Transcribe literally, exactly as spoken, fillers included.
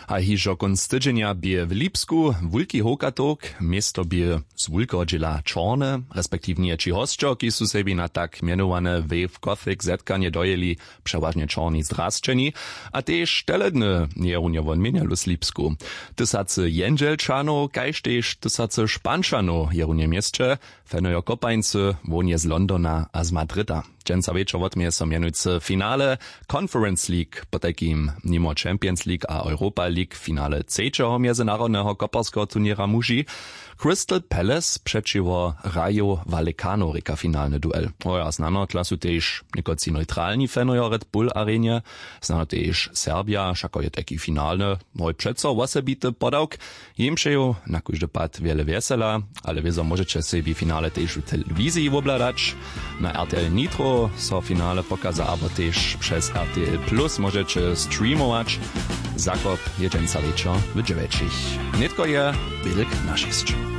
A hižo kónc tydźenja bě w Lipsku wulki howkatowk. Město bě z wulkeho dźěla čorne, respektiwnje tři hosćo, kiž su sebi na tak mjenowane wave gothic zetkanje dojěli, přewažnje čorni zdrasćeni. A tež teledny je runje won měnjelu slipsku. Tysacy jendźelčanow kaž tež tysacy špančanow je runje w měsće. Fenojo kopańcy, wohnje z Londona a z Madrida. Dźensa wječor wotměje so mjenujcy finale Conference League, potajkim nimo Champions League a Europa League finale třećeho mjezynarodneho koparskeho turněra muži. Crystal Palace přećiwo Rayo Vallecano rěka finalny duel. Hoja znano tla su tež někotři neutralni fanojo Red Bull arenje. Znano tež Serbja wšako je tajki finalny, hoj přeco wosebity podawk. Jim přeju na kóždy pad wjele wjesela. Ale wězo móžeće sebi finale tež w telewiziji wobhladać. Na rtl nitro so finale pokaza abo tež přez rtl plus móžeće streamować. Zakop je dźensa wječor w dźewjećich. Nětko je wělk na šěsć.